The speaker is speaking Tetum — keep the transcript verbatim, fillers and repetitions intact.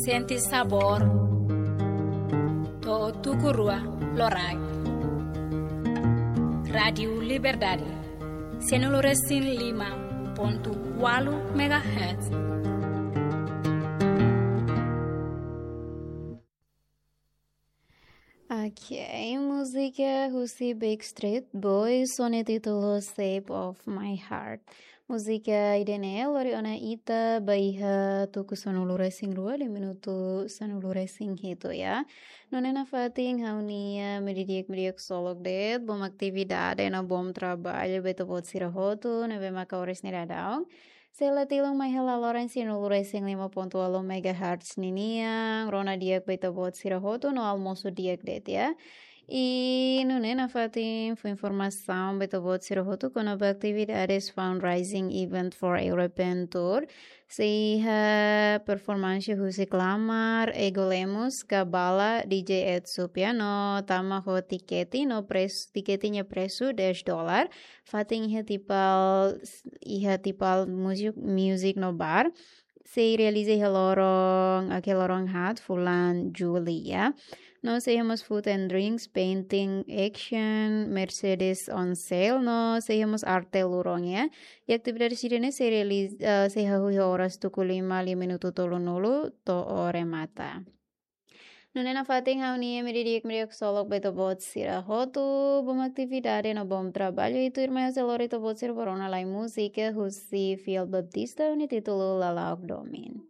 Sente sabór. To'o tuku rua loraik. Rádiu Liberdade. Sanulu-resin-lima pontu ualu megahertz. Ok, múzika husi Backstreet Boys ho nia títulu Shape of My Heart. Múzika ida-ne'e lori ona ita ba iha tuku sanulu-resin-rua liu minutu sanulu-resin-hitu, ya. Nune'e nafatin ha'u-nia ema di'ak, ema di'ak ksolok de'it, bom atividade no bom traballu ba ita-boot sira hotu ne'ebé maka oras ne'e daudaun. Sei la tilun mai hela loron sanulu-resin-lima pontu ualu megahertz ninian, rona di'ak ba ita-boot sira hotu no almosu di'ak de'it, ya. I nune'e nafatin fó informasaun ba ita-boot sira hotu kona-ba atividades fundraising event for European Tour. Sei iha performance husi Klamar, Ego Lemos, Kabala, D J Ed Supia no tama ho tikete no pres-, tikete nia presu dez dolar. Fatin iha Tipal, iha Tipal Music, Music no Bar. Sei realiza iha loron, iha loron haat fulan Jullu, ya. No sei iha mós food and drinks, painting action, Mercedes on sale, no sei iha mós arte lurong, ya. I atividade sira-ne'e sei realiza, eh, sei hahú iha oras tuku lima liu minutu tolunulu to'o remata. Nune'e nafatin ha'u-nia ema di'ak, ema di'ak ksolok ba ita-boot sira hotu, bom atividade no bom traballu, i tuirmai ha'u sei lori ita-boot sira ba rona lai múzika husi Fiel Baptista ho nia títulu Lala'ok Domin.